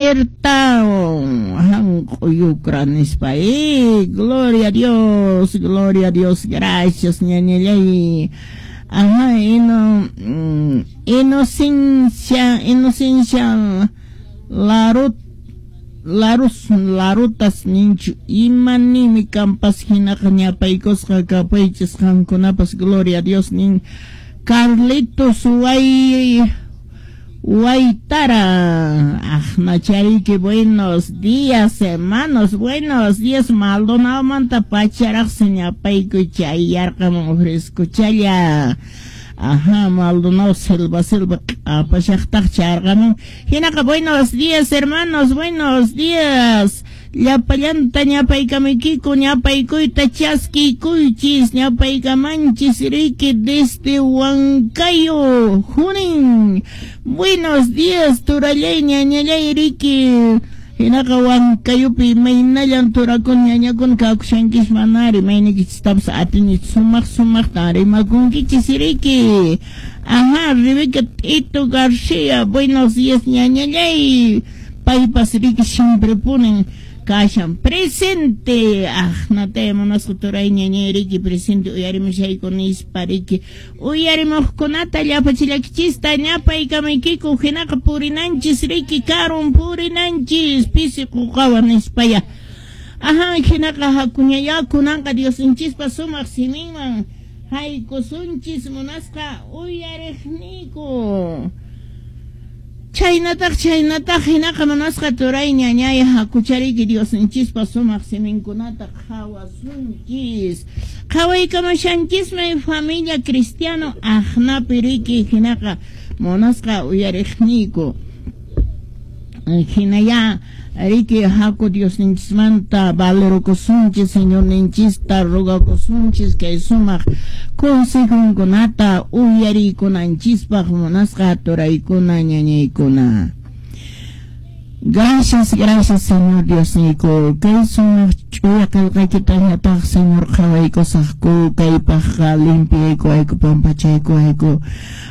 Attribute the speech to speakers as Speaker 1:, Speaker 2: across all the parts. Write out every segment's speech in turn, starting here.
Speaker 1: Berta hanq'uyukra nispa. Gloria a Dios, gloria a Dios, gracias ñañallay. Ajá, inocencia, inocencia larut larus larutas ninchu imanimi kampas hinaqa ñapaykusqa kapaychis qankunapas, gloria a Dios nin Carlitos way Waitara, Achnachariki, buenos días, hermanos, buenos días, Maldonado manta pacharaq ñapayku chayarqamun frescochalla. Ajá, Maldonado selva selva apashaqtaq charqamun. Hinaqa, buenos días, hermanos, buenos días. Llapallanta ñapaykamuykiku, ñapaykuyta chaskiykuychis, ñapaykamanchis riki desde Huancayo, Junín. Buenos días, turallay, ñañallay riki. Hinaqa Huancayupi imaynallan turakun ñañakun kakushankish manari maynikichistapas atini sumaq sumaqtan rimakunkichis riki. Ajá, Rebeca Tito García, buenos días, ñañallay. Paypas riki siempre ponen kashan presente. Aqnata munasqa turay ñañay riki presente uyarimushayku nispa riki uyarimuqkunata llapachillakichista ñapaykamaykiku. Hinaqa purinanchis riki karun purinanchis pisi quqawan nispaya. Ajá, hinaqa hakuñaya kunanqa Diosninchispa sumaq siminman haykusunchis munasqa uyariqniyku. Chaynataq chaynataq hinaqa munasqa turay ñañay hakuchariki Diosninchispa sumaq siminkunata qhawasunchis. Qhawaykamashanchismi familia cristiano aqnapi riki hinaqa munasqa uyariqniyku. Hinaya riki haku Diosninchismanta valerokusunchis, Señorninchista rogakusunchis kay sumaq consejunkunata uyarikunanchispaq munasqa turaykuna ñañaykuna. Gracias, gracias, Señor Diosniyku. Kay sumaq ch'uya qillqaykitañataq, Señor, qhawaykusaqku, kaypaqqa limpiaykuwayku, pampachaykuwayku.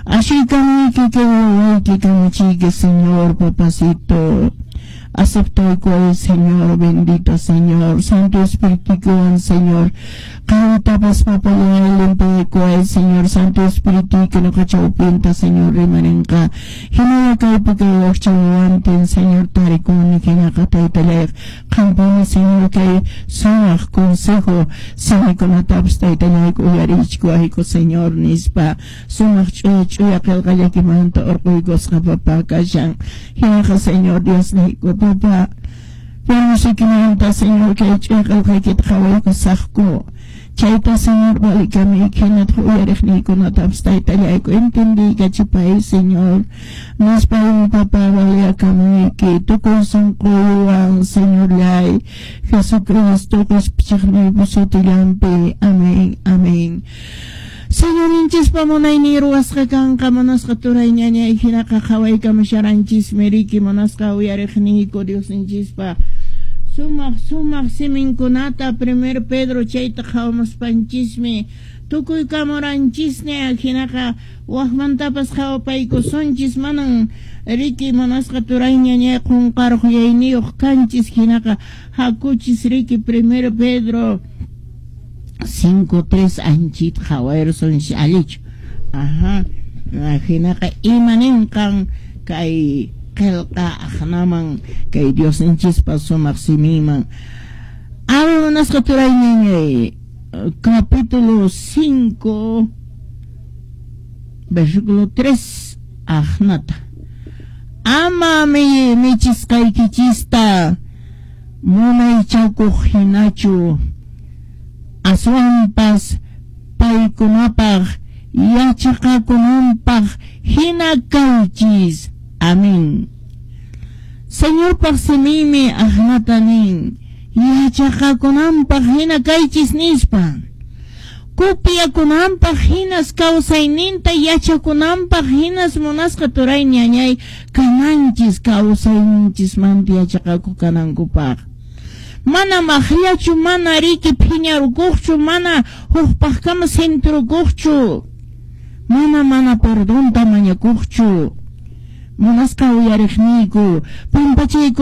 Speaker 1: Ashuykamuyki kay wawayki kamachiyki, Señor, papacito. Aceptaykuway, Señor, bendito Señor, Santo Espíritu, Señor. Qawitapas papallay limpiaykuway, Señor, Santo Espíritu, que nuqa chawpinta, Señor, rimarinqa. Hinalla kaypi kay wakcha wawantin, Señor, tarikuni, hinaqa taytallay qampuni, Señor, kay sumaq consejo simikunatapas taytallayku uyarichkuwayku, Señor, nispa sumaq ch'uya ch'uya qillqallaykimanta urquykusqa papá kashan. Hinaqa, Señor Diosniyku, papá, Permisikimanta, Señor, kay ch'uya qillqaykita qhawaykusaqku. Chayta, Señor, valikamuyki hinataq uyariqniykunatapas taytallayku entendiykachipay, Señor. Nispa papá valiakamuyki tukuy sunquywan, Señorllay, Jesucristo qhispichiqniypa sutillanpi. Amén, amén. Señorinchispa munaynin ruwasqa kanqa munasqa turay ñañay hinaqa qhawaykamushaраnchismi riki munasqa uyariqniyku Diosninchispa sumaq sumaq siminkunata primer Pedro chayta qhawamuspanchismi tukuy kamuranchisña hinaqa waqmantapas qhawapaykusunchis manan riki munasqa turay ñañay qunqaruq yayniyuq kanchis hinaqa hakuchis riki primer Pedro 5:3 anchit qhawayrusunchis allichu. Ajá, hinaqa imaninqan kay qillqa aqnaman kay Diosninchispa sumaq siminman. Ari munasqa turay ñañay capítulo 5 versículo 3 aqnata. Ama michisqaykichista munaychakuq hinachu aswanpas paykunapaq yachaqakunanpaq hina kaychis. Amén. Señorpaq siminmi aqnata nin yachaqakunanpaq hina kaychis nispa. Kupiyakunanpaq hinas kawsayninta yachakunanpaq hinas munasqa turay ñañay kananchis kawsayninchismanta yachaqakuq kanankupaq. Mana maqllachu, mana riki phiñarukuqchu, mana hukpaqkama sintrukuqchu, mana perdonta mañakuqchu. Munasqa uyariqniyku, pampachayku.